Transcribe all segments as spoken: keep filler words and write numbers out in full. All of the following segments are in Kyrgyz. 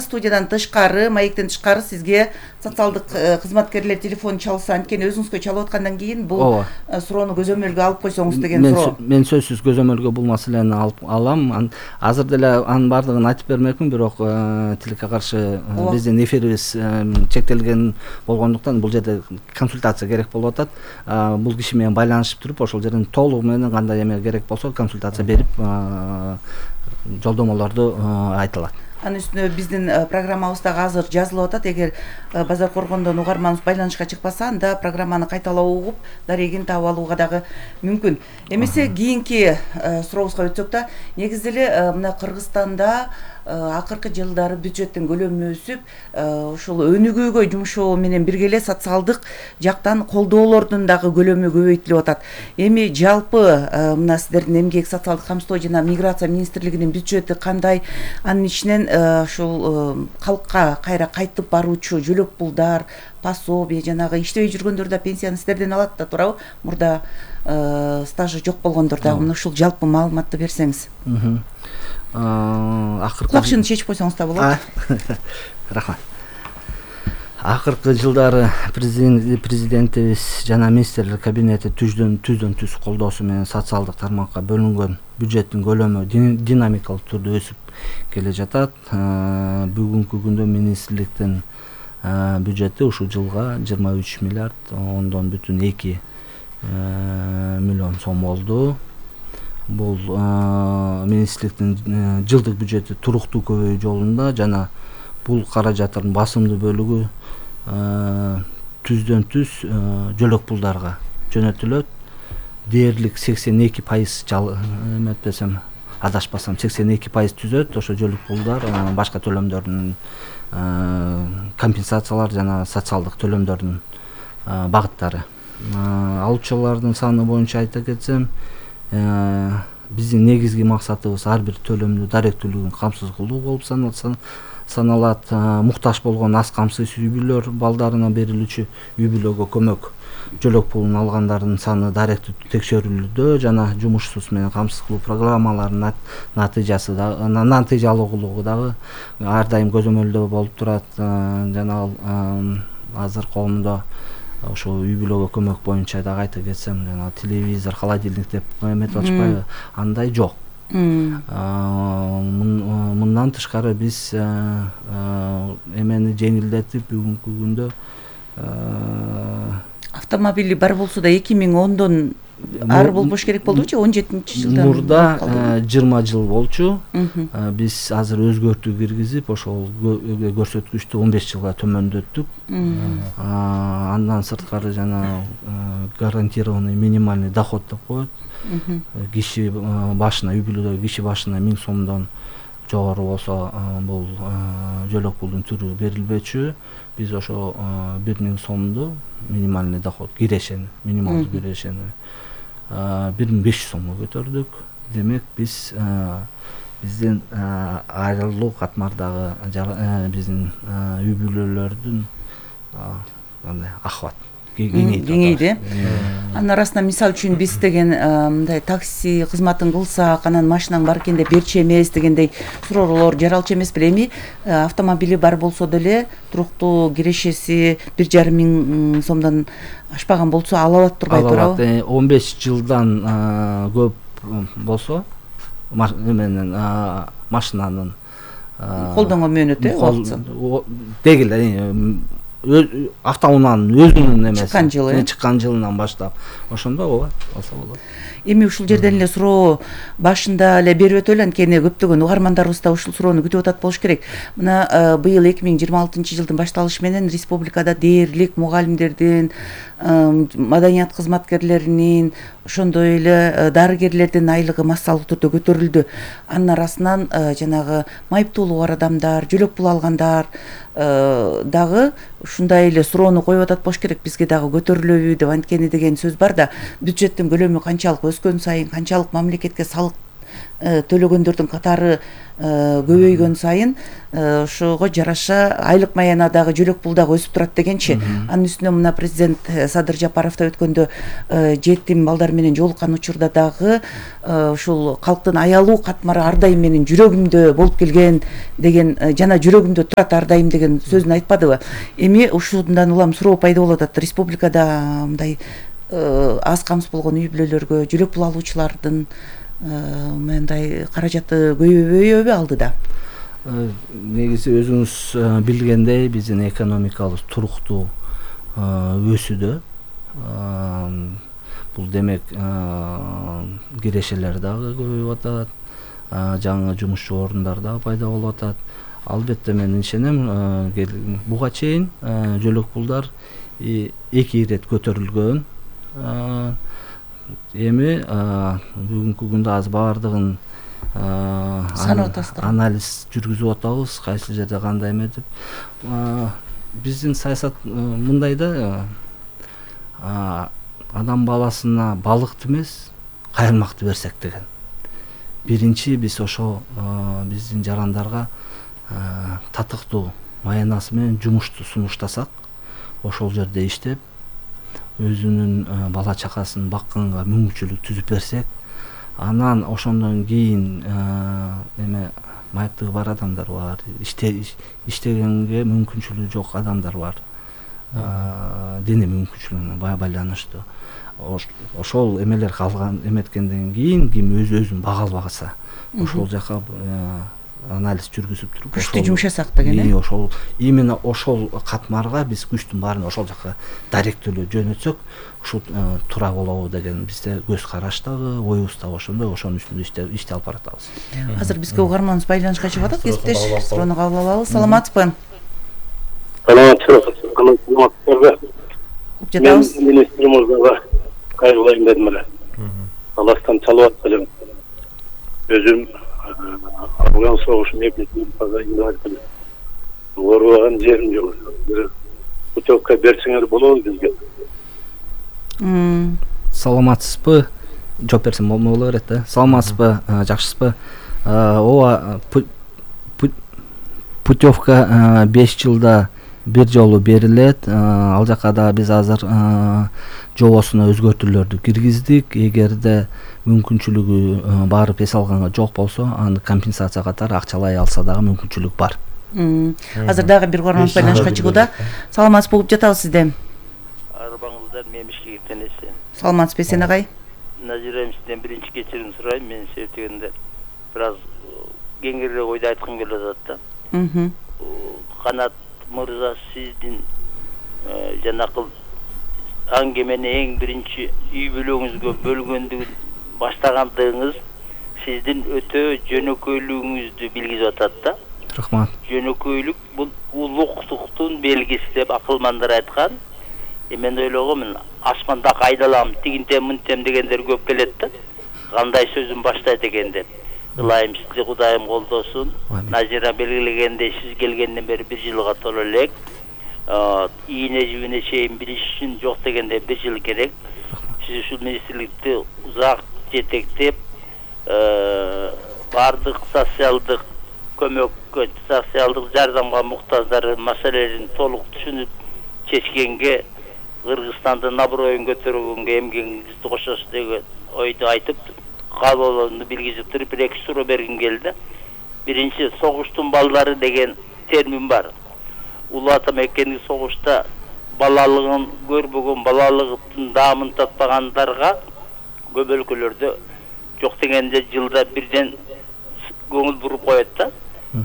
студиядан тышкары, маектен тышкары сизге социалдык кызматкерлер телефон чалса, анткени өзүңүзгө чалып аткандан кийин бул суроону көзөмөлгө алып койсоңуз деген суроо. Мен сөзсүз көзөмөлгө бул маселени алып алам. Азыр деле анын баардыгын айтып бермекмин, бирок тилекке каршы биздин эфирибиз чектелген болгондуктан бул жерде консультация керек болуп атат. Бул киши менен байланышып туруп, ошол жерден толугу менен кандай эме керек болсо консультация берип жолдомолорду айта алат. Анын үстүнө биздин программабыздагы азыр жазылып атат. Эгер Базар Коргондон угарманыбыз байланышка чыкпаса, анда программаны кайталап угуп, дарегин таап алууга дагы мүмкүн. Эмесе кийинки сурообузга өтсөк да, негизи эле мына Кыргызстанда акыркы жылдары бюджеттин көлөмү өсүп, ушул өнүгүүгө жумшоо менен бирге эле социалдык жактан колдоолордун дагы көлөмү көбөйтүлүп атат. Эми жалпы мына сиздердин эмгек, социалдык камсыздоо жана миграция министрлигинин бюджети кандай? Анын ичинен ушул калкка кайра кайтып баруучу жөлөк пулдар, пособие, жанагы иштебей жүргөндөр да пенсияны сиздерден алат да, туурабы? Мурда стажы жок болгондор дагы мына ушул жалпы маалыматты берсеңиз. Акыркы Кулакчыны чечип койсоңуз да болот. Рахмат. Акыркы жылдары президентибиз жана министрлер кабинети түздөн түздөн түз колдоосу менен социалдык тармакка бөлүнгөн бюджеттин көлөмү динамикалык түрдө өсүп келе жатат. Бүгүнкү күндө министрликтин бюджети ушул жылга жыйырма үч миллиард ондон бүтүн эки миллион сом болду. Бул министрликтин жылдык бюджети туруктуу көбөйүү жолунда жана бул каражаттардын басымдуу бөлүгү түздөн түз жөлөк пулдарга жөнөтүлөт. Дээрлик сексен эки пайыз эметпесем, адашпасам сексен эки пайыз түзөт. Ошо жөлөк пулдар башка төлөмдөрдүн компенсациялар жана социалдык төлөмдөрдүн багыттары. Алуучулардын саны боюнча айта кетсем, биздин негизги максатыбыз ар бир төлөмдү даректүүлүгүн камсыз кылуу болуп саналат. Муктаж болгон аз камсыз үй бүлөлөр балдарына берилүүчү үй бүлөгө көмөк жөлөк пулун алгандардын саны даректүү текшерүүлүдө жана жумушсуз менен камсыз кылуу программаларынын натыйжасы да натыйжалуулугу дагы ар дайым көзөмөлдөө болуп турат. Жана азыр коомдо ошо үй бүлөгө көмөк боюнча дагы айта кетсем, жана телевизор, холодильник деп эметип атышпайбы, андай жок. Мындан тышкары биз эмени жеңилдетип бүгүнкү күндө автомобили бар болсо да эки миң ондон ар болбош керек болдучу, он жетинчи жылдан мурда жыйырма жыл болчу. Биз азыр өзгөртүү киргизип, ошол көрсөткүчтү он беш жылга төмөндөттүк. Андан сырткары жана гарантированный минимальный доход деп коет. Киши башына, үй бүлөдөгү киши башына миң сомдон жогору болсо бул жөлөк пулдун түрү берилбечү. Биз ошо бир миң сомду минимальный доход кирешени, минималдуу кирешени бир миң беш жүз сомго көтөрдүк. Демек биз биздин айрылуу катмардагы биздин үй бүлөлөрдүн кандай ахват кеңейди. Анын арасынан мисалы үчүн биз деген мындай такси кызматын кылсак, анан машинаң бар экен деп берчү эмес дегендей суроолор жаралчу эмес беле? Эми автомобили бар болсо деле туруктуу кирешеси бир жарым миң сомдон ашпаган болсо ала алат турбайбы, туурабы? он беш жылдан көп болсо эменин машинанын колдонгон мөөнөтү убактысы деги эле автоунаанын өзүнүн эмеси чыккан жылы чыккан жылынан баштап ошондо ооба алса болот. Эми ушул жерден эле суроо башында эле берип өтөлү, анткени көптөгөн угармандарыбыз да ушул суроону күтүп атат болуш керек. Мына быйыл эки миң жыйырма алтынчы жылдын башталышы менен республикада дээрлик мугалимдердин, маданият кызматкерлеринин, ошондой эле дарыгерлердин айлыгы массалык түрдө көтөрүлдү. Анын арасынан жанагы майыптуулугу бар адамдар, жөлөк пул алгандар дагы ушундай эле суроону коюп атат болуш керек, бизге дагы көтөрүлөбү деп. Анткени деген сөз бар да, бюджеттин көлөмү канчалык өскөн сайын, канчалык мамлекетке салык төлөгөндөрдүн катары көбөйгөн сайын ошого жараша айлык маяна дагы жөлөк пул дагы өсүп турат дегенчи. Анын үстүнө мына президент Садыр Жапаров да өткөндө жетим балдар менен жолуккан учурда дагы ушул калктын аялуу катмары ар дайым менин жүрөгүмдө болуп келген деген жана жүрөгүмдө турат ар дайым деген сөзүн айтпадыбы? Эми ушундан улам суроо пайда болуп атат. Республикада мындай аз камсыз болгон үй бүлөлөргө жөлөк пул алуучулардын мындай каражаты көбөйбөйбү алдыда? Негизи өзүңүз билгендей биздин экономикабыз туруктуу өсүүдө. Бул демек кирешелер дагы көбөйүп атат, жаңы жумушчу орундар дагы пайда болуп атат. Албетте мен ишенем, буга чейин жөлөк пулдар эки ирет көтөрүлгөн. Эми бүгүнкү күндө аз баардыгын анализ жүргүзүп атабыз, кайсы жерде кандай эме деп. Биздин саясат мындай да, адам баласына балыкты эмес, кайрылмакты берсек деген. Биринчи биз ошо биздин жарандарга татыктуу маянасы менен жумушту сунуштасак, ошол жерде иштеп, өзүнүн бала чакасын бакканга мүмкүнчүлүк түзүп берсек, анан ошондон кийин эме майыптыгы бар адамдар бар, иштегенге мүмкүнчүлүгү жок адамдар бар. Дене мүмкүнчүлүгүнө байланыштуу. Ошол эмелер калган эметкенден кийин ким өз өзүн бага албаса, ошол жака анализ жүргүзүп туруп, күчтүү жумшасак деген э? Ошол именно ошол катмарга биз күчтүн баарын ошол жака даректөлөө жөнөтсөк, ушул туура болобу деген бизде көз караш дагы, оюбуз дагы ошондой, ошонун үстүндө ишти алып баратабыз. Азыр бизге угарманыбыз байланышка чыгып атат, кесиптеш, суроону кабыл алабыз. Саламатсызбы? Саламатсызбы. Жатабыз. Мен министр мырзага кайрылайын дедим эле. Аластан чалып атпайлы. Өзүм Афган согушунун экинчи инвалидмин. Оорубаган жерим жок. Путевка берсеңер болобу бизге? Саламатсызбы? Жооп берсем боло берет да. Саламатсызбы? Жакшысызбы? Ооба, путевка беш жылда бир жолу берилет. Ал жака да биз азыр жобосуна өзгөртүүлөрдү киргиздик. Эгерде мүмкүнчүлүгү барып эс алганга жок болсо, аны компенсация катары акчалай алса дагы мүмкүнчүлүк бар. Азыр дагы бир угарман байланышка чыгууда. Саламатсыз болуп жатабыз сизде. Арбаңыздар мемишке кетенесен. Саламатсызбы сен агай? Назирем сизден биринчи кечирим сурайм. Мен сетегенде бир аз кеңирээк ойду айткым келип атат да. Канат мырза, сиздин жанакыл аңгемени эң биринчи үй бүлөңүзгө бөлгөндүгүн баштагандыгыңыз сиздин өтө жөнөкөйлүгүңүздү билгизип атат да. Рахмат. Жөнөкөйлүк бул улуктуктун белгиси деп акылмандар айткан. Мен ойлогомун, асманда кайдалам, тигинтем, мынтем дегендер көп келет да. Кандай сөзүн баштайт экен деп. Ылайым сизди Кудайым колдосун. Назира белгилегендей, сиз келгенден бери бир жылга толо элек. Ийне жибине чейин билиш үчүн жок дегенде бир жыл керек. Сиз ушул министрликти узак жетектеп, бардык социалдык көмөккө, социалдык жардамга муктаждардын маселелерин толук түшүнүп чечкенге, Кыргызстандын аброюн көтөргөнгө эмгегиңизди кошосуз деген ойду айтып, кабылууну билгизип туруп, бир эки суроо бергим келди. Биринчи, согуштун балдары деген термин бар. Улуу ата мекенди согушта балалыгын көрбөгөн, балалыгын даамын татпагандарга көп өлкөлөрдө жок дегенде жылда бирден көңүл буруп коет да.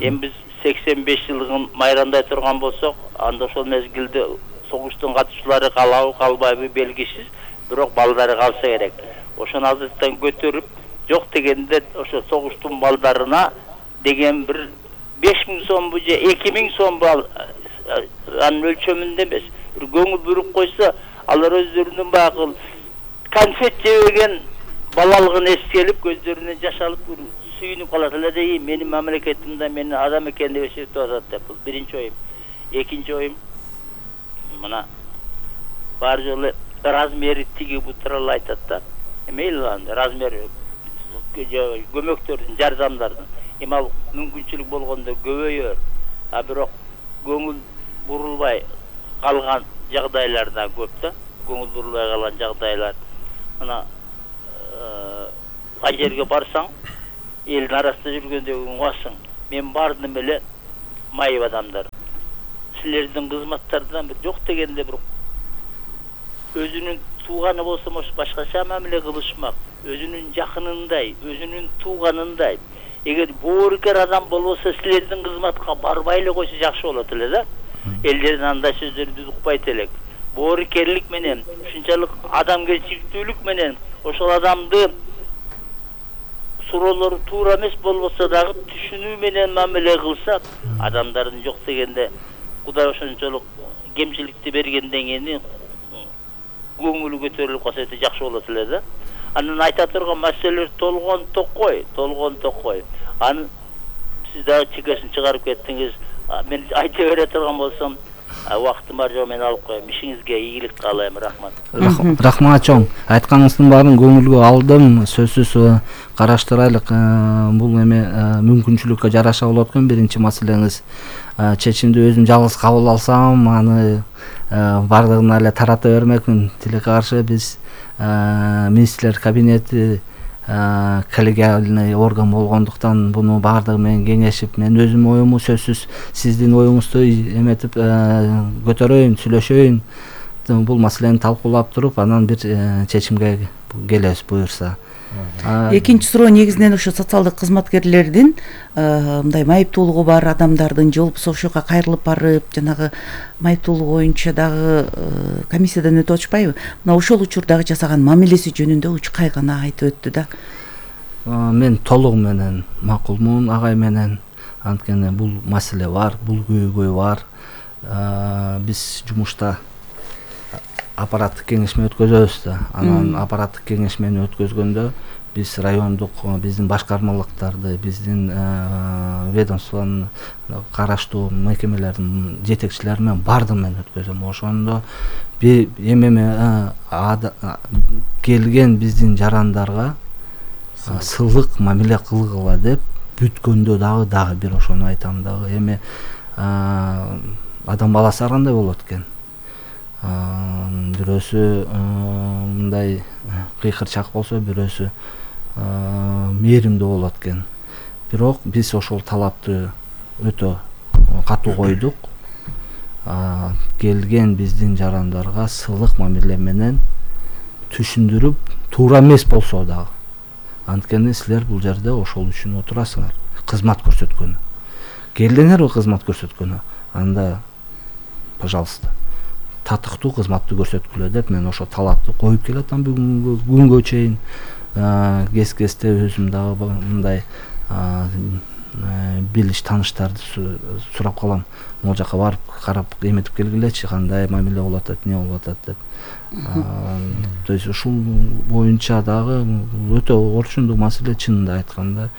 Эми биз сексен беш жылдыгын майрамдай турган болсок, анда ошол мезгилде согуштун катышуулары калабы, калбайбы белгисиз, бирок балдары калса керек. Ошону азыртан көтөрүп, жок дегенде ошо согуштун балдарына деген бир беш миң сомбу же эки миң сомбу анын өлчөмүндө эмес, бир көңүл буруп койсо, алар өздөрүнүн багыл конфет жебеген балалыгын эске алып, көздөрүнөн жаш алып сүйүнүп калат эле де, менин мамлекетимде мени адам экен деп эсептеп атат деп. Бул биринчи оюм. Экинчи оюм, мына бар жолу размери тиги бу тууралуу айтат да. Мейли анда размери көмөктөрдүн, жардамдардын эми ал мүмкүнчүлүк болгондо көбөйөр, а бирок көңүл бурулбай калган жагдайлар да көп да, көңүл бурулбай калган жагдайлар. Мына ай жерге барсаң, элдин арасында жүргөндө угасың, мен бардым эле майып адамдар. Силердин кызматтардан бир жок дегенде бир өзүнүн тууганы болсо башкача мамиле кылышмак, өзүнүн жакынындай, өзүнүн тууганындай. Эгер боорукер адам болбосо силердин кызматка барбай эле койсо жакшы болот эле да. Элдердин андай сөздөрүн укпайт элек. Боорукерлик менен, ушунчалык адамгерчиликтүүлүк менен ошол адамды суроолору туура эмес болбосо дагы түшүнүү менен мамиле кылса, адамдардын жок дегенде Кудай ошончолук кемчиликти бергенден кийин көңүлү көтөрүлүп калса өтө жакшы болот эле да. Анын айта турган маселелер толгон токой, толгон токой. Аны сиз дагы чекесин чыгарып кеттиңиз. Мен айта бере турган болсом, убактым бар жок, мен алып коем. Ишиңизге ийгилик каалайм, рахмат. Рахмат чоң. Айтканыңыздын баарын көңүлгө алдым. Сөзсүз караштырайлык. Бул эме мүмкүнчүлүккө жараша болот экен. Биринчи маселеңиз чечимди өзүм жалгыз кабыл алсам, аны бардыгына эле тарата бермекмин. Тилекке каршы биз министрлер кабинети коллегиальный орган болгондуктан буну баардыгы менен кеңешип, мен өзүм оюмду сөзсүз сиздин оюңузду эметип көтөрөйүн, сүйлөшөйүн. Бул маселени талкуулап туруп, анан бир чечимге келебиз буюрса. Экинчи суроо негизинен ошо социалдык кызматкерлердин мындай майыптуулугу бар адамдардын же болбосо ошого кайрылып барып, жанагы майыптуулугу боюнча дагы комиссиядан өтүп атышпайбы? Мына ошол учурдагы жасаган мамилеси жөнүндө Учкай гана айтып өттү да. Мен толугу менен макулмун агай менен. Анткени бул маселе бар, бул көйгөй бар. Биз жумушта аппараттык кеңешме өткөзөбүз да. Анан аппараттык кеңешмени өткөзгөндө биз райондук биздин башкармалыктарды, биздин ведомствонун караштуу мекемелердин жетекчилери менен бардыгы менен өткөзөм. Ошондо эми келген биздин жарандарга сылык мамиле кылгыла деп бүткөндө дагы дагы бир ошону айтам дагы. Эми адам баласы ар кандай болот экен. Бирөөсү мындай кыйкырчак болсо, бирөөсү мээримдүү болот экен. Бирок биз ошол талапты өтө катуу койдук. Келген биздин жарандарга сылык мамиле менен түшүндүрүп, туура эмес болсо дагы. Анткени силер бул жерде ошол үчүн отурасыңар. Кызмат көрсөткөнү. Келдиңерби кызмат көрсөткөнү? Анда, пожалуйста, татыктуу кызматты көрсөткүлө деп мен ошо талапты коюп келатам бүгүнгө күнгө чейин. Кез-кезде өзүм дагы мындай билиш тааныштарды сурап калам. Могул жака барып карап эметип келгилечи, кандай мамиле болуп атат, эмне болуп атат деп. То есть ушул боюнча дагы өтө орчундуу маселе, чынында айтканда.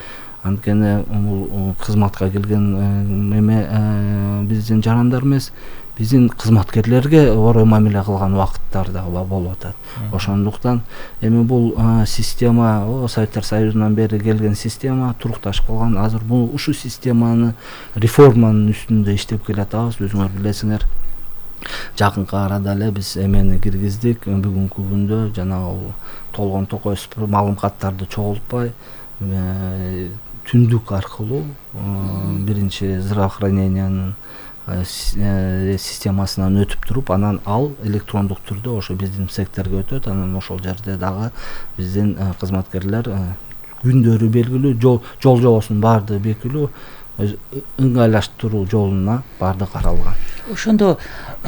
Анткени бул кызматка келген эме биздин жарандар эмес, биздин кызматкерлерге орой мамиле кылган убакыттар дагы болуп атат. Ошондуктан эми бул система Советтер Союзунан бери келген система турукташып калган. Азыр бул ушул системаны реформанын үстүндө иштеп келатабыз. Өзүңөр билесиңер, жакынкы арада эле биз эмени киргиздик. Бүгүнкү күндө жанагы толгон токой маалыматтарды чогултпай түндүк аркылуу биринчи здравоохранениянын системасынан өтүп туруп, анан ал электрондук түрдө ошо биздин секторго өтөт. Анан ошол жерде дагы биздин кызматкерлер күндөрү белгилүү, жол жобосунун баардыгы белгилүү, ыңгайлаштыруу жолуна баардыгы каралган. Ошондо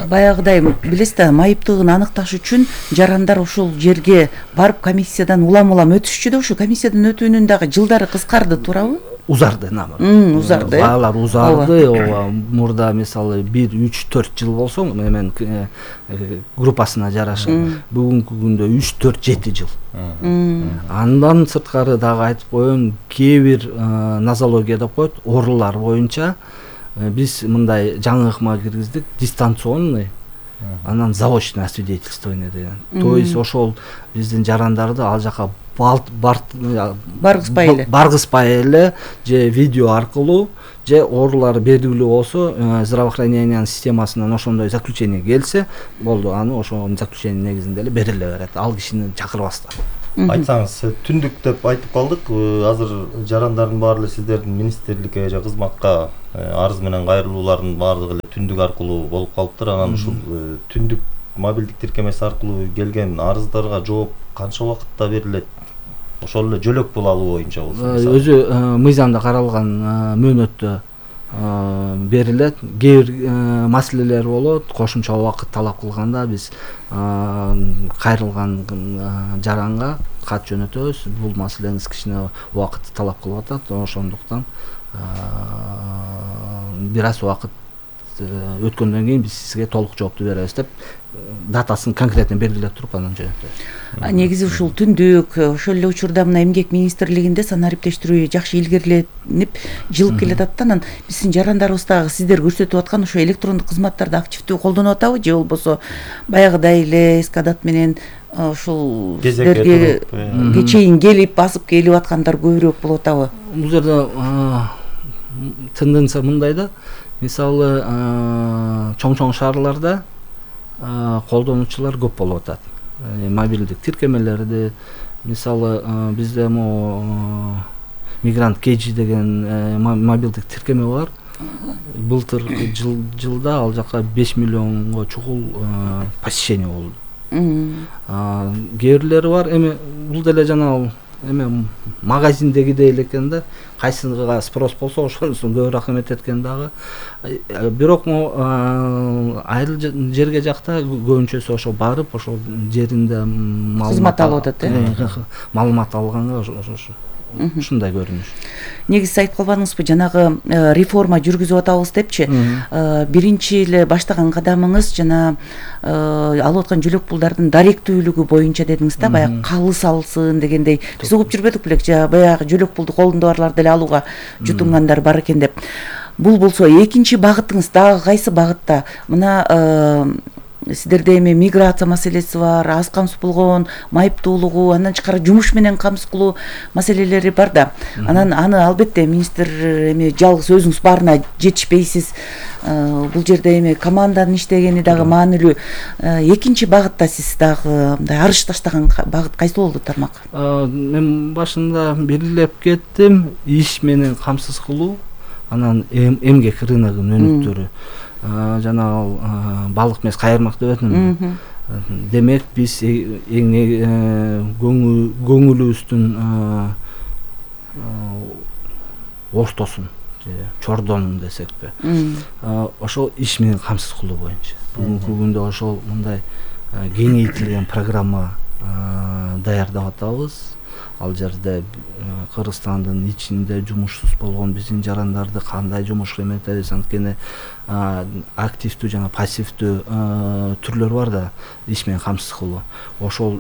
баягыдай билесиз да, майыптыгын аныкташ үчүн жарандар ошол жерге барып комиссиядан улам-улам өтүшчү да, ошо комиссиядан өтүүнүн дагы жылдары кыскарды, туурабы? Узарды, наамы. Узарды. Баалар узарды. Ооба, мурда мисалы бир үч төрт жыл болсо, мен группасына жараша, бүгүнкү күндө үч төрт жети жыл. Андан сырткары дагы айтып коеюн, кээ бир нозология деп коет, оорулар боюнча биз мындай жаңы ыкма киргиздик, дистанционный анан заочное освидетельствование деген. То есть ошол биздин жарандарды ал жака баргызбай эле баргызбай эле же видео аркылуу же оорулары белгилүү болсо здравоохранениянын системасынан ошондой заключение келсе болду, аны ошол заключение негизинде эле бериле берет, ал кишини чакырбастан. Айтсаңыз, түндүк деп айтып калдык. Азыр жарандардын баары эле сиздердин министрликке же кызматка арыз менен кайрылуулардын баардыгы эле түндүк аркылуу болуп калыптыр. Анан ушул түндүк мобилдик тиркемеси аркылуу келген арыздарга жооп канча убакытта берилет? Ошол эле жөлөк пул алуу боюнча болсо өзү мыйзамда каралган мөөнөттө берилет. Кээ бир маселелер болот, кошумча убакыт талап кылганда биз кайрылган жаранга кат жөнөтөбүз. Бул маселеңиз кичине убакытты талап кылып атат, ошондуктан бир аз убакыт өткөндөн кийин биз сизге толук жоопту беребиз деп датасын конкретно белгилеп туруп анан жөнөтөбүз. Негизи ушул түндүк ошол эле учурда мына эмгек министрлигинде санариптештирүү жакшы илгериленип жылып келатат да, анан биздин жарандарыбыз дагы сиздер көрсөтүп аткан ошо электрондук кызматтарды активдүү колдонуп атабы же болбосо баягыдай эле эскадат менен ушул сиздерге кечейин келип басып келип аткандар көбүрөөк болуп атабы? Бул жерде тенденция мындай да, мисалы чоң-чоң шаарларда колдонуучулар көп болуп атат. Мобилдик тиркемелерди, мисалы бизде могу мигрант кежи деген мобилдик тиркеме бар. Былтыр жылда ал жака беш миллионго чукул посещение болду. Кээ бирлери бар, эми бул деле жана эме магазиндегидей эле экен да, кайсыга спрос болсо ошонусун көбүрөөк эметет экен дагы. Бирок айыл жерге жакта көбүнчөсү ошо барып, ошол жеринде кызмат алып атат, э? Маалымат алганга ошо ушундай көрүнүш. Негизи айтып калбадыңызбы, жанагы реформа жүргүзүп атабыз депчи. Биринчи эле баштаган кадамыңыз жана алып аткан жөлөк пулдардын даректүүлүгү боюнча дедиңиз да, баягы калыс алсын дегендей. Биз угуп жүрбөдүк белек, баягы жөлөк пулду колунда барлар деле алууга жутунгандар бар экен деп. Бул болсо экинчи багытыңыз дагы кайсы багытта? Мына сиздерде эми миграция маселеси бар, аз камсыз болгон майыптуулугу, андан тышкары жумуш менен камсыз кылуу маселелери бар да. Анан аны албетте министр эми жалгыз өзүңүз баарына жетишпейсиз. Бул жерде эми команданын иштегени дагы маанилүү. Экинчи багытта сиз дагы мындай арыш таштаган багыт кайсы болду тармак? Мен башында белгилеп кеттим, иш менен камсыз кылуу, анан эмгек рыногунун өнүктөрү. Жана балык эмес кайырмак деп атам. Демек биз эң көңүлүбүздүн ортосун, чордонун десекпи, ошол иш менен камсыз кылуу боюнча бүгүнкү күндө ошол мындай кеңейтилген программа даярдап атабыз. Ал жерде Кыргызстандын ичинде жумушсуз болгон биздин жарандарды кандай жумушка эметебиз, анткени активдүү жана пассивдүү түрлөр бар да, иш менен камсыз кылуу. Ошол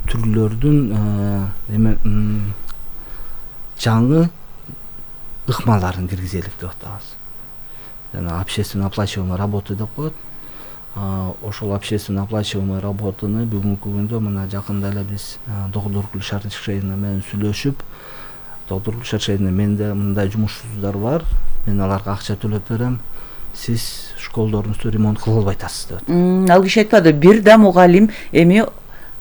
түрлөрдүн эме жаңы ыкмаларын киргизелик деп атабыз. Жана общественно оплачиваемая работа деп коет. Ошол общественно оплачиваемая работаны бүгүнкү күндө мына жакында эле биз доктор Гүлшара Шершеевна менен сүйлөшүп, доктор Гүлшара Шершеевна, менде мындай жумушсуздар бар, мен аларга акча төлөп берем, сиз школдоруңузду ремонт кылып албай атасыз деп. Ал киши айтпады, бир да мугалим эми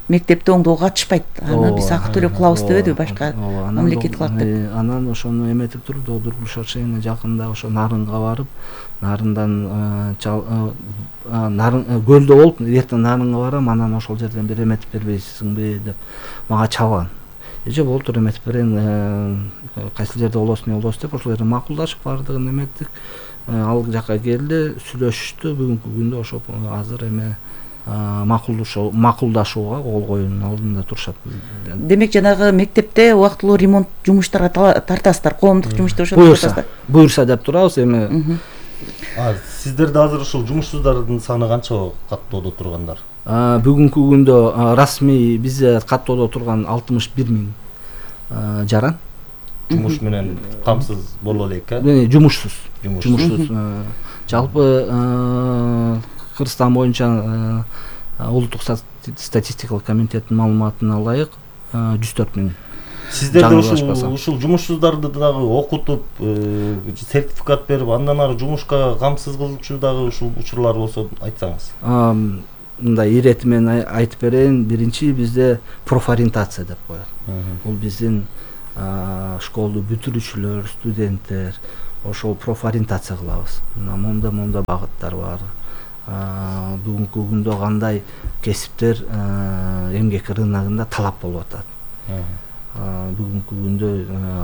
мектепте оңдоого катышпайт, аны биз акы төлөп кылабыз дебеди, башка мамлекет кылат деп. Анан ошону эметип туруп доктор Гүлшара Шершеевна жакында ошо Нарынга барып, Нарындан көлдө болуп, эртең Нарынга барам, анан ошол жерден бир эметип бербейсиңби деп мага чалган. Эже болуптур, эметип берейин, кайсы жерде болосун, болосун деп ошол жерде макулдашып бардыгын эметтик. Ал жака келди, сүйлөшүштү. Бүгүнкү күндө ошо азыр эме макулдашууга кол коюунун алдында турушат. Демек жанагы мектепте убактылуу ремонт жумуштарга тартасыздар, коомдук жумушта ошо буюрса, буюрса деп турабыз эми. Сиздерде азыр ушул жумушсуздардын саны канча каттоодо тургандар? Бүгүнкү күндө расмий бизде каттоодо турган алтымыш бир миң жаран. Жумуш менен камсыз боло элек, э? Жумушсуз. Жумушсуз. Жалпы Кыргызстан боюнча улуттук статистикалык комитеттин маалыматына ылайык жүз төрт миң. Сиздерде ушул ушул жумушсуздарды дагы окутуп, сертификат берип, андан ары жумушка камсыз кылуучу дагы ушул учурлар болсо айтсаңыз. Мындай ирети менен айтып берейин. Биринчи бизде профориентация деп коет. Бул биздин школду бүтүрүүчүлөр, студенттер ошол профориентация кылабыз. Мына момда момда багыттар бар. Бүгүнкү күндө кандай кесиптер эмгек рыногунда талап болуп атат. Бүгүнкү күндө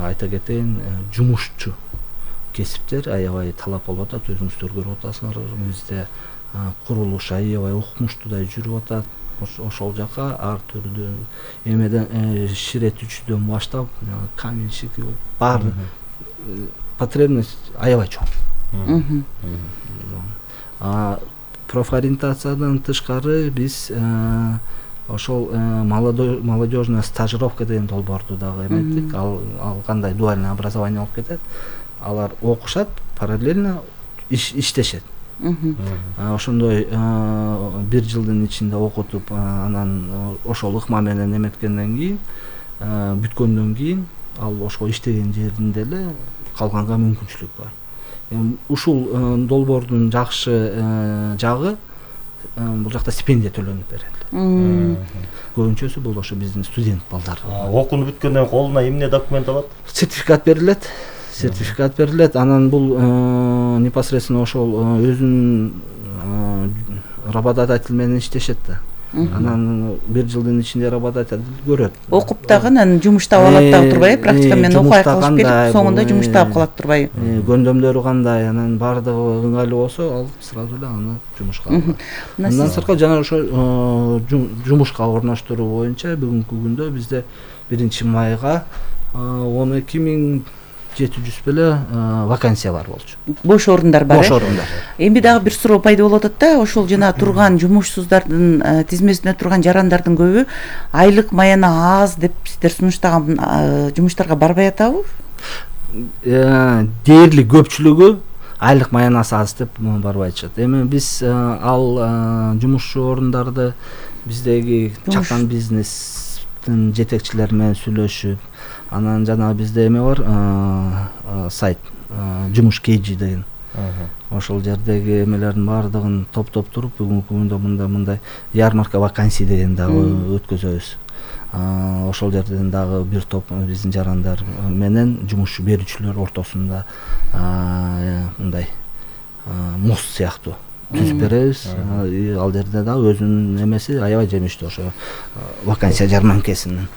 айта кетейин, жумушчу кесиптер аябай талап болуп атат. Өзүңүздөр көрүп атасыңар, бизде курулуш аябай укмуштуудай жүрүп атат. Ошол жака ар түрдүү эмеден ширетүүчүдөн баштап каменщик баары потребность аябай чоң. Профориентациядан тышкары биз ошол молодежная стажировка деген долбоорду дагы эметтик. Ал кандай дуальный образование болуп кетет. Алар окушат, параллельно иштешет. Ошондой бир жылдын ичинде окутуп, анан ошол ыкма менен эметкенден кийин, бүткөндөн кийин ал ошол иштеген жеринде эле калганга мүмкүнчүлүк бар. Ушул долбоордун жакшы жагы бул жакта стипендия төлөнүп берет. Көбүнчөсү бул ошо биздин студент балдар. Окууну бүткөндөн колуна эмне документ алат? Сертификат берилет. Сертификат берилет. Анан бул непосредственно ошол өзүнүн работодатель менен иштешет да. Анан бир жылдын ичинде работодатель көрөт. Окуп дагы анан жумуш таап алат дагы турбайбы? Практика менен окуй калып келип, соңунда жумуш таап калат турбайбы? Гөндөмдөрү кандай, анан баардыгы ыңгайлуу болсо, ал сразу эле аны жумушка алат. Андан сырткары жана ошо жумушка орноштуруу боюнча бүгүнкү күндө бизде биринчи майга он эки миң жети жүз беле вакансия бар болчу. Бош орундар бар. Бош орундар. Эми дагы бир суроо пайда болуп атат да, ошол жана турган жумушсуздардын тизмесинде турган жарандардын көбү айлык маяна аз деп сиздер сунуштаган жумуштарга барбай атабы? Дээрлик көпчүлүгү айлык маянасы аз деп барбай атышат. Эми биз ал жумушчу орундарды биздеги чакан бизнестин жетекчилери менен сүйлөшүп, анан жана бизде эме бар, сайт жумуш кейжи деген. Ошол жердеги эмелердин баардыгын топтоп туруп, бүгүнкү күндө мындай мындай ярмарка вакансий деген дагы өткөзөбүз. Ошол жерден дагы бир топ биздин жарандар менен жумушчу берүүчүлөр ортосунда мындай мост сыяктуу түзүп беребиз. Ал жерде дагы өзүнүн эмеси аябай жемиштүү ошо вакансия жарманкесинин.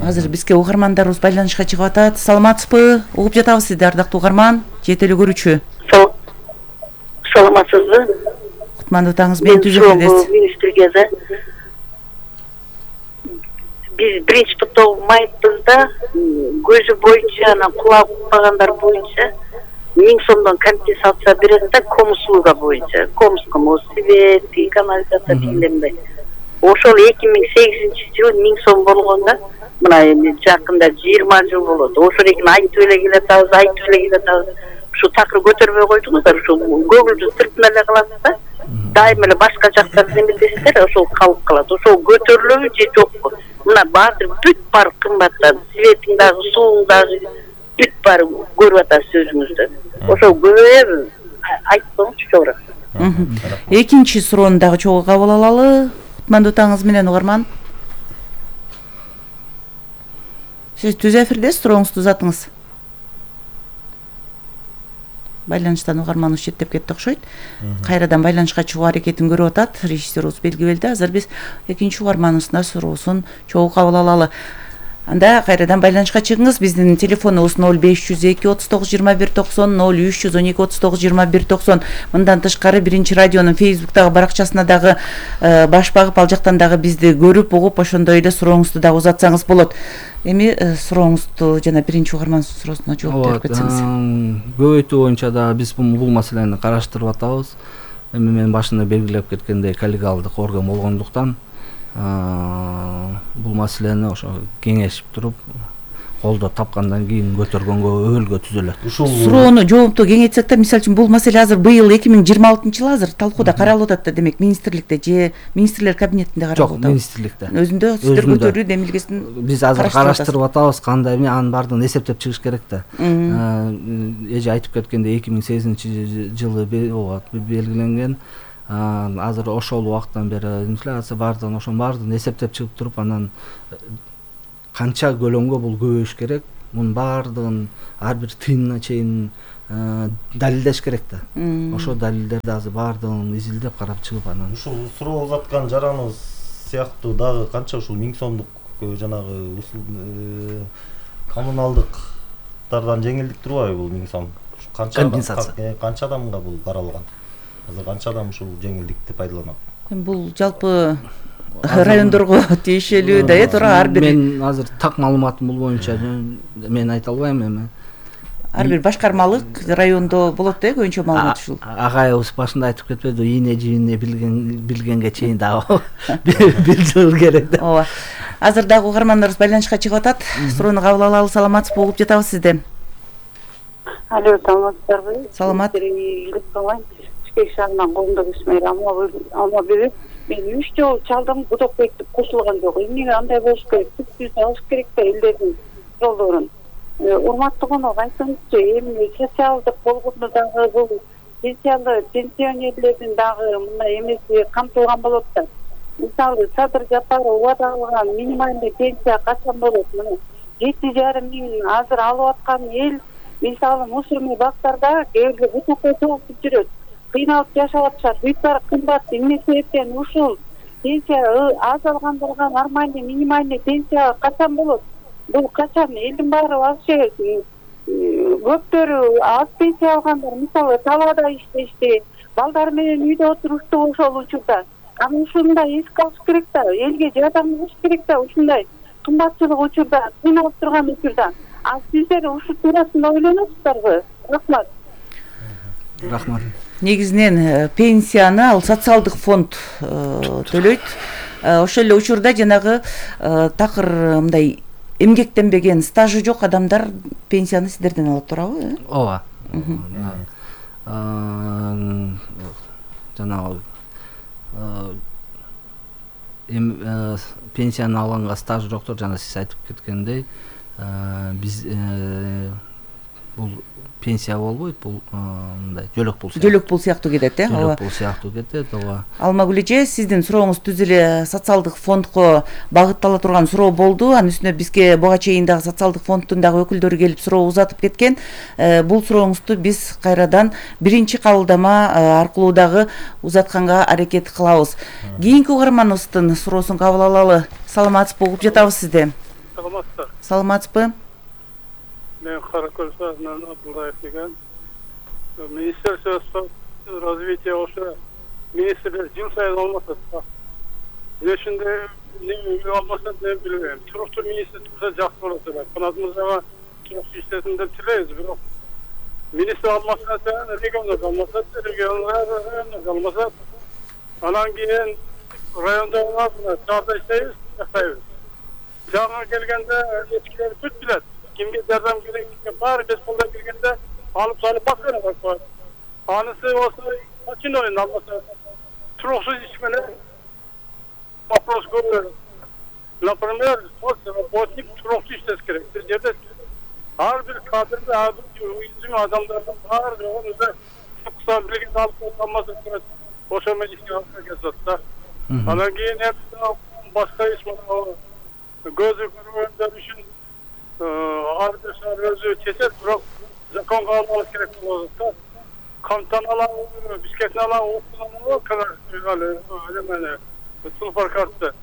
Азыр бизге угармандарыбыз байланышка чыгып атат. Саламатсызбы? Угуп жатабыз сизди, ардактуу угарман, жетелүү көрүүчү. Саламатсызбы? Кутмандуу таңыңыз менен түзөтөбүз. Министрге да биз биринчи топтогу майыбызда көзү боюнча, анан кулак укпагандар боюнча миң сомдон компенсация берет да, комуслуга боюнча. Комскому свет, канализация тилинде. Ошол эки миң сегизинчи жылы миң сом болгондо, мына эми жакында жыйырма жыл болот. Ошол экен айтып эле келатабыз, айтып эле келатабыз. Ушу такыр көтөрбөй койдуңуздар, ушу көңүлдү тыртына эле калат да. Дайыма эле башка жактарды эметесиздер, ошол калып калат. Ошол көтөрүлөбү же жокпу? Мына баатыр бүт бар кымбаттан, светиң дагы, сууң дагы бүт бар көрүп атасыз өзүңүздөр. Ошол көбөйөбү? Айтпаңызчы чогуу. Экинчи суроону дагы чогуу кабыл алалы. Кутмандуу таңыңыз менен угарман. Сиз түз эфирдесиз, сурооңузду узатыңыз. Байланыштан угарманыбыз четтеп кетти окшойт. Кайрадан байланышка чыгуу аракетин көрүп атат режиссерубуз белгиледи. Азыр биз экинчи угарманыбыздын суроосун чогуу кабыл алалы. Анда кайрадан байланышка чыгыңыз. Биздин телефонубуз ноль беш жүз эки отуз тогуз жыйырма бир токсон, ноль үч жүз он эки отуз тогуз жыйырма бир токсон. Мындан тышкары биринчи радионун Facebook'тагы баракчасына дагы баш багып, ал жактан дагы бизди көрүп, угуп, ошондой эле сурооңузду дагы узатсаңыз болот. Эми сурооңузду жана биринчи угармандын суроосуна жооп берип кетсеңиз. Көбөйтүү боюнча да биз бул маселени караштырып атабыз. Эми мен башында белгилеп кеткендей коллегиалдык орган болгондуктан бул маселени ошо кеңешип туруп колдоп тапкандан кийин көтөргөнгө өбөлгө түзөлөт. Ушул суроону жоопту кеңейтсек да, мисалы үчүн бул маселе азыр быйыл эки миң жыйырма алтынчы жыл азыр талкууда каралып атат да, демек министрликте же министрлер кабинетинде каралып Жок, атат. министрликте. Өзүндө сиздер көтөрүү демилгесин биз азыр караштырып атабыз, кандай эме, анын баардыгын эсептеп чыгыш керек да. Эже айтып кеткендей эки миң сегизинчи жылы белгиленген, азыр ошол убакыттан бери инфляция баардыгын ошонун баардыгын эсептеп чыгып туруп, анан канча көлөмгө бул көбөйүш керек, мунун баардыгын ар бир тыйынына чейин далилдеш керек да. Ошол далилдерди азыр баардыгын изилдеп карап чыгып, анан ушул суроо узаткан жараныбыз сыяктуу дагы канча ушул миң сомдук жанагы коммуналдыктардан жеңилдик турбайбы бул миң сом? Канча компенсация канча адамга бул каралган? Азыр канча адам ушул жеңилдикти пайдаланат? Бул жалпы райондорго тиешелүү да, э, туура ар бир. Мен азыр так маалыматым бул боюнча мен айта албайм эми. Ар бир башкармалык райондо болот да, көбүнчө маалымат ушул. Агайыбыз башында айтып кетпеди, ийне жийине билген билгенге чейин дагы билдирүү керек да. Ооба. Азыр дагы угармандарыбыз байланышка чыгып атат. Суроону кабыл алалы, саламатсызбы, угуп жатабыз сизден. Алло, саламатсыздарбы? Саламат. Бишкек шаарынан коомдук ишмер алма берип, мен үч жолу чалдым, Будокбекти кошулган жок. Эмнеге андай болуш керек? Түз алыш керек да элдердин жолдорун. Урматтуу конок, айтыңызчы, эми социалдык болгондо дагы бул пенсиялы пенсионерлердин дагы мындай эмеси камтылган болот да. Мисалы, Садыр Жапаров убада алган минимальный пенсия качан болот? Мына жети жарым миң азыр алып аткан эл, мисалы, мусорный бактарда кээ бирде бутакка толуп жүрөт. Кыйналып жашап атышат. Бүйтөр кымбат, эмне себептен ушул пенсия аз алгандарга нормальный минимальный пенсия качан болот? Бул качан элдин баары вообще көптөрү аз пенсия алгандар, мисалы, талаада иштешти, балдар менен үйдө отурушту ошол учурда. Аны ушундай эске алыш керек да, элге жардам кылыш керек да, ушундай кымбатчылык учурда, кыйналып турган учурда. А сиздер ушул туурасында ойлоносуздарбы? Рахмат. Рахмат. Негизинен пенсияны ал социалдык фонд төлөйт. Ошол эле учурда жанагы такыр мындай эмгектенбеген, стажы жок адамдар пенсияны сиздерден алат, туурабы? Ооба. Жанагы эм пенсияны алганга стажы жоктор, жана сиз айтып кеткендей, биз бул пенсия болбойт, бул мындай жөлөк пул сыяктуу. Жөлөк пул сыяктуу кетет, э? Жөлөк пул сыяктуу кетет, ооба. Алмагүл эже, сиздин сурооңуз түз эле социалдык фондко багыттала турган суроо болду. Анын үстүнө бизге буга чейин дагы социалдык фонддун дагы өкүлдөрү келип суроо узатып кеткен. Бул сурооңузду биз кайрадан биринчи кабылдама аркылуу дагы узатканга аракет кылабыз. Кийинки угарманыбыздын суроосун кабыл алалы. Саламатсызбы, угуп жатабыз сизди. Саламатсыздар. Саламатсызбы? Мен Каракөл шаарынан Абдуллаев деген. Министерство развития ошо министрлер жыл сайын алмаса. Эмне үчүн үй алмаса деп билбейм. Туруктуу министр турса жакшы болот эле. Канат мырзага туруктуу иштесин деп тилейбиз, бирок министр алмаса, региондор алмаса, региондор алмаса, анан кийин райондо шаарда иштейбиз, жактайбыз. Жаңы келгенде эчкилер бүт билет. Кимге жардам керек, баары бес колдон киргенде алып салып баскан бар. Анысы болсо очиноен алмаса, туруксуз иш менен вопрос көп. Например, работник туруктуу иштеш керек. Бир жерде ар бир кадрды, ар бир уйзим адамдардын баары жогунда кыса билген алып алмаса керек. Ошо менен ишке алып кетет да. Анан кийин башка иш менен көзү көргөндөр үчүн ар бир шаар өзү чечет, бирок законго алып керек болот да. Камтаналар, Бишкектин алабы, Октоналабы, Сулфар карты.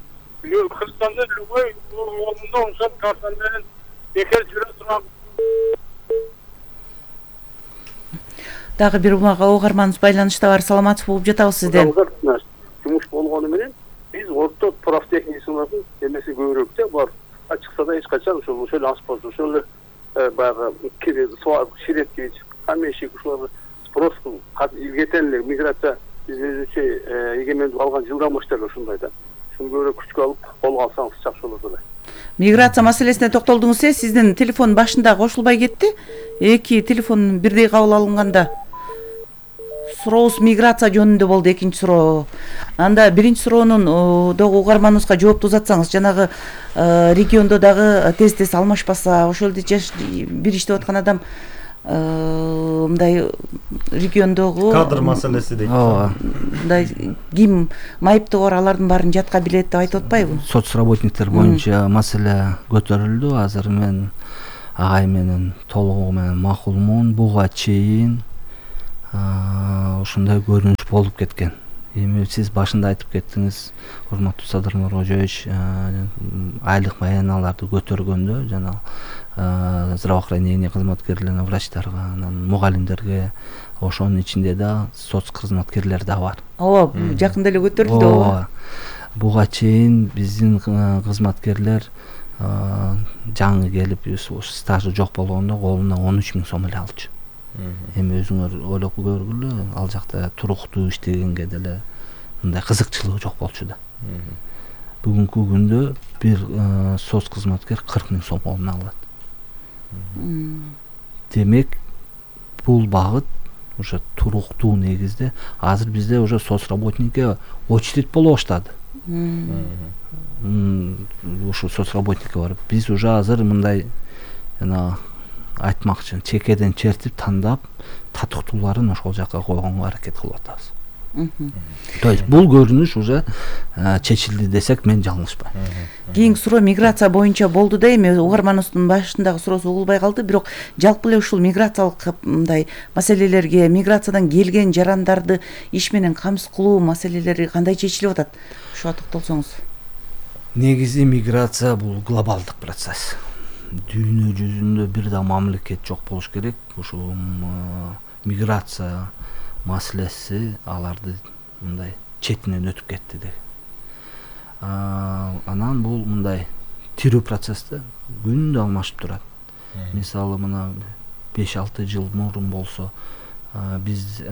Кыргызстанда любой орунда ошол карта менен бекер жүрө турган. Дагы бир угарманыбыз байланышта бар. Саламатсызбы, угуп жатабыз сизден. Жумуш болгону менен биз орто профтехникалардын эмеси көбүрөөк да бар. Ачыкса да эч качан ошол ошол аспаз, ошол баягы кире суак, ширеткич, камешик ушуларды спрос илгетен эле миграция биз өзүнчө эгемендик алган жылдан баштап ошондой да. Шуну көбүрөөк күчкө алып колго алсаңыз жакшы болот эле. Миграция маселесине токтолдуңуз. Э сиздин телефон башында кошулбай кетти. Эки телефон бирдей кабыл алынганда сурообуз миграция жөнүндө болду. Экинчи суроо. Анда биринчи суроонун дагы угарманыбызга жоопту узатсаңыз, жанагы региондо дагы тез тез алмашпаса, ошол эле жаш бир иштеп аткан адам мындай региондогу кадр маселеси дейт. Ооба. Мындай ким майыптуу бар, алардын баарын жатка билет деп айтып атпайбы? Соцработниктер боюнча маселе көтөрүлдү. Азыр мен агай менен толугу менен макулмун. Буга чейин ушундай көрүнүш болуп кеткен. Эми сиз башында айтып кеттиңиз, урматтуу Садыр Нуркожоевич, айлык баяналарды көтөргөндө жана здравоохранение кызматкерлерине, врачтарга, анан мугалимдерге, ошонун ичинде да соц кызматкерлер да бар. Ооба, жакында эле көтөрүлдү. Ооба. Буга чейин биздин кызматкерлер жаңы келип, стажы жок болгондо колуна он үч миң сом эле алчу. Эми өзүңөр ойлоп көргүлө, ал жакта туруктуу иштегенге деле мындай кызыкчылыгы жок болчу да. Бүгүнкү күндө бир соц кызматкер кырк миң сом колуна алат. Демек, бул багыт уже туруктуу негизде. Азыр бизде уже соцработникке очередь боло баштады. Ушу соцработникке барып, биз уже азыр мындай жана айтмакчы, чекеден чертип тандап, татыктууларын ошол жакка койгонго аракет кылып атабыз. То есть бул көрүнүш уже чечилди десек мен жалгышпайм. Кийинки суроо миграция боюнча болду да, эми угарманыбыздын башындагы суроосу угулбай калды, бирок жалпы эле ушул миграциялык мындай маселелерге, миграциядан келген жарандарды иш менен камсыз кылуу маселелери кандай чечилип атат? Ушуга токтолсоңуз. Негизи миграция бул глобалдык процесс. Дүйнө жүзүндө бир да мамлекет жок болуш керек. Ушул миграция маселеси аларды мындай четинен өтүп кетти деп. Анан бул мындай тирүү процессте күндө алмашып турат. Мисалы мына беш алты жыл мурун болсо, биз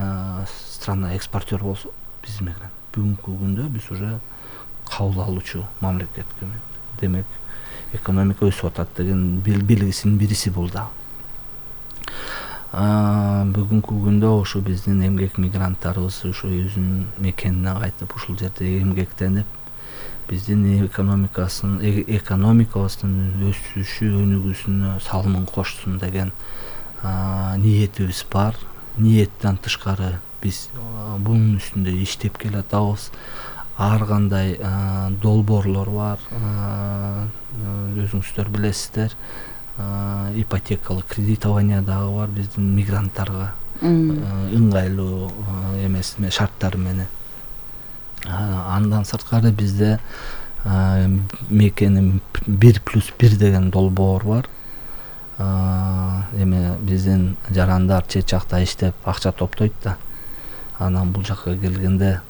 страна экспортер болсо, биз мигрант. Бүгүнкү күндө биз уже кабыл алуучу мамлекетке. Демек, экономика өсүп атат деген белгисинин бириси бул да. Бүгүнкү күндө ушу биздин эмгек мигранттарыбыз ушу өзүнүн мекенине кайтып, ушул жерде эмгектенип, биздин экономикасын, экономикабыздын өсүшү, өнүгүүсүнө салымын коштун деген ниетибиз бар. Ниеттен тышкары биз бунун үстүндө иштеп келатабыз. Ар кандай долбоорлор бар, өзүңүздөр билесиздер. Ипотекалык кредитование дагы бар биздин мигранттарга ыңгайлуу эмес шарттар менен. Андан сырткары бизде мекени бир плюс бир деген долбоор бар. Эми биздин жарандар чет жакта иштеп акча топтойт да. Анан бул жакка келгенде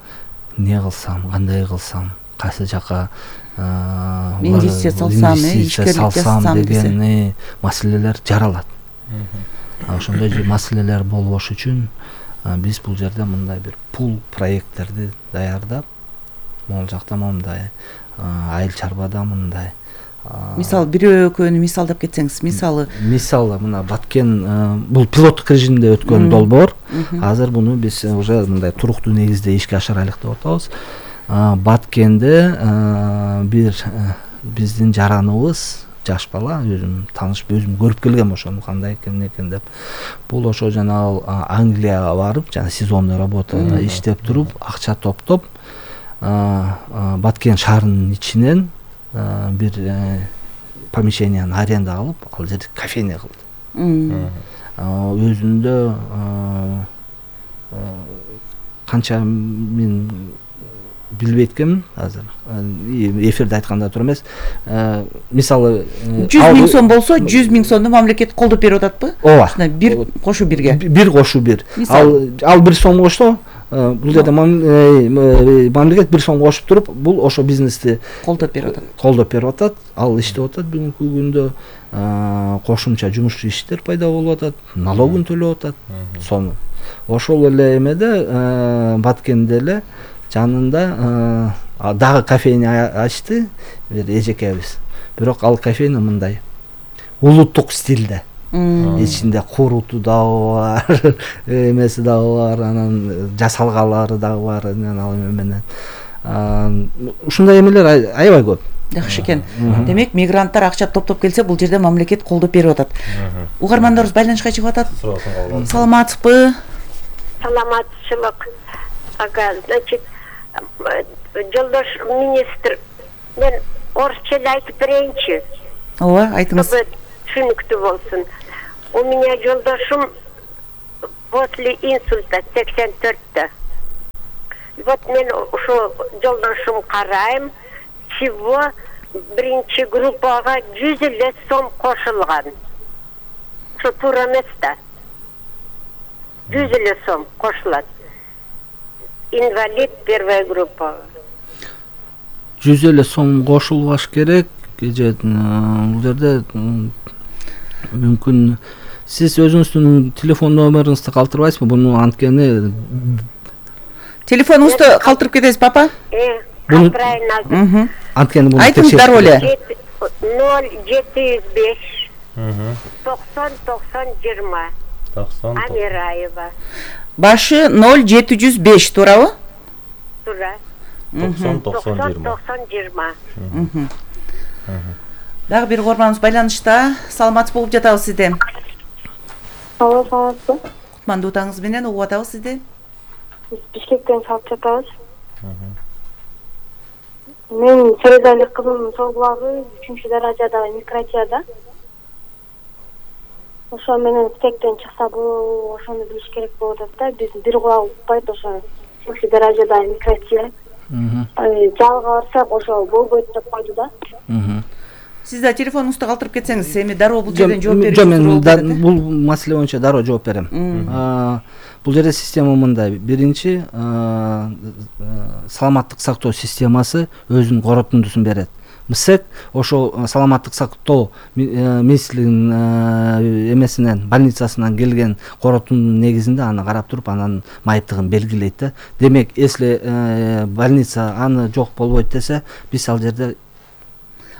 не кылсам, кандай кылсам, кайсы жака инвестиция салсам, ишкерлик салсам деген маселелер жаралат. Ошондой маселелер болбош үчүн биз бул жерде мындай бир пул проекттерди даярдап, могул жакта мындай, айыл чарбада мындай. Мисалы бирөө экөөнү мисалдап кетсеңиз, мисалы мисалы мына Баткен бул пилоттук режимде өткөн долбоор. Азыр буну биз уже мындай туруктуу негизде ишке ашырайлык деп атабыз. Баткенде бир биздин жараныбыз, жаш бала, өзүм таныш, өзүм көрүп келгем ошону кандай экен экен деп. Бул ошо жана Англияга барып, жана сезонный работада иштеп туруп, акча топтоп, Баткен шаарынын ичинен бир помещенияны аренда алып, ал жерде кофейня кылды. Өзүндө канча мен билбей эткенмин азыр. Эфирде айтканда тура эмес. Мисалы жүз миң сом болсо, жүз миң сомду мамлекет колдоп берип ататпы? Ооба. Бир кошу бирге. Бир кошу бир. Ал ал бир сом кошсо, бул жерде мамлекет бир сом кошуп туруп, бул ошо бизнести колдоп берип атат. Колдоп берип атат. Ал иштеп атат бүгүнкү күндө. Кошумча жумуш иштер пайда болуп атат, налогун төлөп атат. Сону. Ошол эле эмеде Баткенде эле жанында дагы кофейня ачты бир эжекебиз. бирок ал кофейня мындай улуттук стилде. Ичинде куруту дагы бар, эмеси дагы бар, анан жасалгалары дагы бар, анан ал менен. Ушундай эмелер аябай көп. Жакшы экен. Демек, мигранттар акча топтоп келсе, бул жерде мамлекет колдоп берип атат. Угармандарыбыз байланышка чыгып атат. Саламатсызбы? Саламатчылык. Ага, значит, жолдош министр, мен орусча айтып берейинчи. Ооба, айтыңыз. Түшүнүктүү болсун. У меня жолдошум после инсульта сексен төрттө. Вот мен ошо жолдошум карайм, всего биринчи группага жүз элүү сом кошулган. Ошо туура эмес да. жүз элүү сом кошулат. Инвалид первая группа. жүз элүү сом кошулбаш керек. Же бул жерде мүмкүн сиз өзүңүздүн телефон номериңизди калтырбайсызбы? Буну анткени телефонуңузду калтырып кетесиз, папа? Э, калтырайын. Анткени буну айтыңыз дароо эле. ноль жети жүз беш токсон токсон жыйырма. Амираева. Башы ноль жети жүз беш, туурабы? Туура. токсон токсон жыйырма. Дагы бир угарманыбыз байланышта. Саламатсыз болуп жатабыз сизди. Алло, саламатсызбы? Кутмандуу таңыңыз менен угуп атабыз сизди. Биз Бишкектен чалып жатабыз. Мен Середалик кызымдын сол булагы үчүнчү даражада микротияда. Ошо менен Бишкектен чыкса бул ошону билиш керек болуп атат да. Биз бир кулак укпайт, ошо үчүнчү даражада микротия. Жалга барсак ошо болбойт деп койду да. Сиз да телефонуңузду калтырып кетсеңиз, эми дароо бул жерден жооп берип. Жок, мен бул маселе боюнча дароо жооп берем. Бул жерде система мындай. Биринчи, саламаттык сактоо системасы өзүнүн коротундусун берет. МСЭК ошол саламаттык сактоо министрлигинин эмесинен, больницасынан келген коротундун негизинде аны карап туруп, анан майыптыгын белгилейт да. Демек, если больница аны жок болбойт десе, биз ал жерде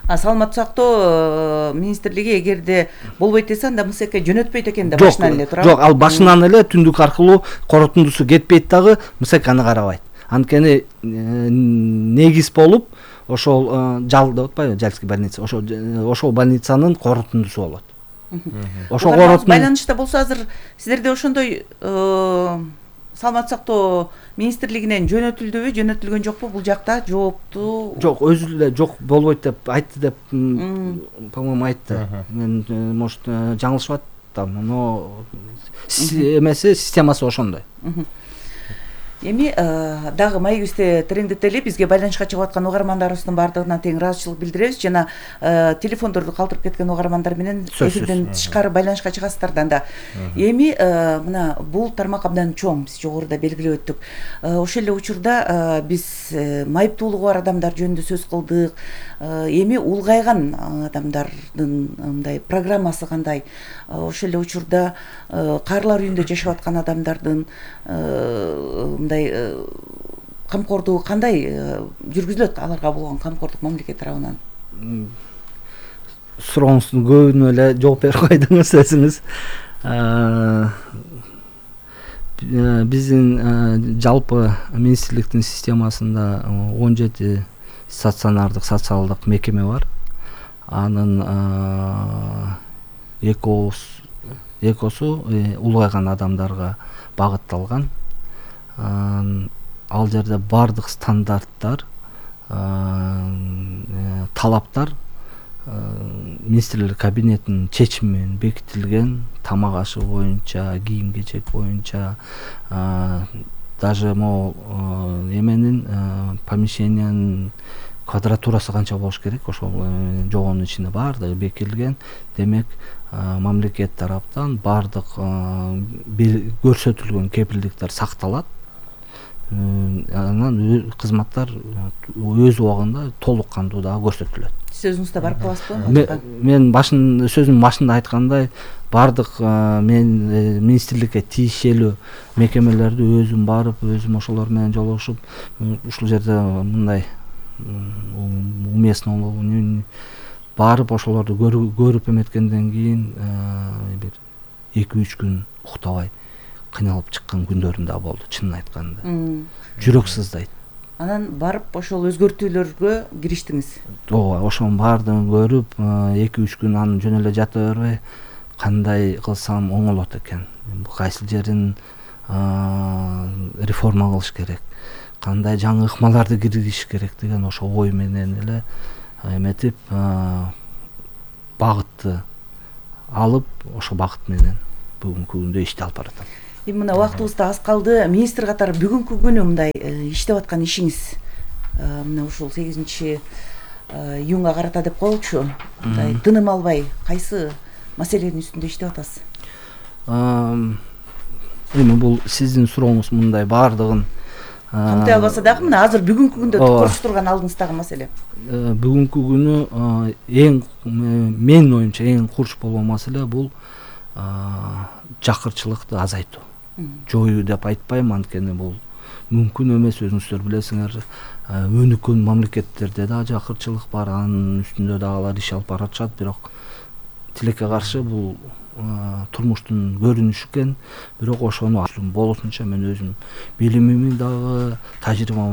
саламаттык сактоо министрлиги эгерде болбойт десе, анда МСЭКке жөнөтпөйт экен да, башынан эле, туурабы? Жок, ал башынан эле түндүк аркылуу коротундусу кетпейт дагы, МСЭК аны карабайт. Анткени негиз болуп ошол жал деп атпайбы, Жальский больница, ошол ошол больницанын коротундусу болот. Ошол коротундус байланышта болсо, азыр сиздерде ошондой саламаттык сактоо министрлигинен жөнөтүлдүбү, жөнөтүлгөн жокпу бул жакта жоопту? Жок, өзү эле жок болбойт деп айтты деп, по-моему, айтты. Мен может жаңылышып атам, но эмеси системасы ошондой. Эми дагы маегибизди тереңдете эле бизге байланышка чыгып аткан угармандарыбыздын баардыгына тең ыраазычылык билдиребиз жана телефондорду калтырып кеткен угармандар менен эфирден тышкары байланышка чыгасыздар да. Эми мына бул тармак абдан чоң, биз жогоруда белгилеп өттүк. Ошол эле учурда биз майыптуулугу бар адамдар жөнүндө сөз кылдык. Эми улгайган адамдардын мындай программасы кандай? Ошол эле учурда каарылар үйүндө жашап аткан адамдардын камкордугу кандай жүргүзүлөт, аларга болгон камкордук мамлекет тарабынан? Сурооңуздун көбүнө эле жооп берип койдуңуз өзүңүз. Биздин жалпы министрликтин системасында он жети стационардык социалдык мекеме бар. Анын экосу улгайган адамдарга багытталган. Ал жерде бардык стандарттар, талаптар министрлер кабинетинин чечими менен бекитилген, тамак ашы боюнча, кийим кечек боюнча, даже могу эменин помещениянын квадратурасы канча болуш керек, ошол жогонун ичинде баардыгы бекитилген. Демек, мамлекет тараптан баардык көрсөтүлгөн кепилдиктер сакталат. Анан кызматтар өз убагында толук кандуу дагы көрсөтүлөт. Сиз өзүңүз да барып каласызбы? Мен башын сөзүмдүн башында айткандай, баардык мен министрликке тийишелүү мекемелерди өзүм барып, өзүм ошолор менен жолугушуп, ушул жерде мындай уместно барып ошолорду көрүп эметкенден кийин бир эки үч күн уктабай кыйналып чыккан күндөрүм да болду, чынын айтканда. Жүрөк сыздайт. Анан барып ошол өзгөртүүлөргө кириштиңиз. Ооба, ошонун баардыгын көрүп, эки үч күн анын жөн эле жата бербей, кандай кылсам оңолот экен, кайсы жерин реформа кылыш керек, кандай жаңы ыкмаларды киргизиш керек деген ошо ой менен эле эметип, багытты алып, ошо багыт менен бүгүнкү күндө иштеп алып баратам. Эми мына убактыбыз да аз калды. Министр катары бүгүнкү күнү мындай иштеп аткан ишиңиз мына ушул сегизинчи июнга карата деп коелучу, мындай тыным албай кайсы маселенин үстүндө иштеп атасыз? Эми бул сиздин сурооңуз мындай баардыгын камтый албаса дагы мына азыр бүгүнкү күндө көрүшүп турган алдыңыздагы маселе. Бүгүнкү күнү эң менин оюмча эң курч болгон маселе бул жакырчылыкты азайтуу. Жоюу деп айтпайм, анткени бул мүмкүн эмес, өзүңүздөр билесиңер. Өнүккөн мамлекеттерде да жакырчылык бар, анын үстүндө дагы алар иш алып баратышат, бирок тилекке каршы бул турмуштун көрүнүшү экен. Бирок ошону болушунча мен өзүм билимими дагы, тажрыйбамды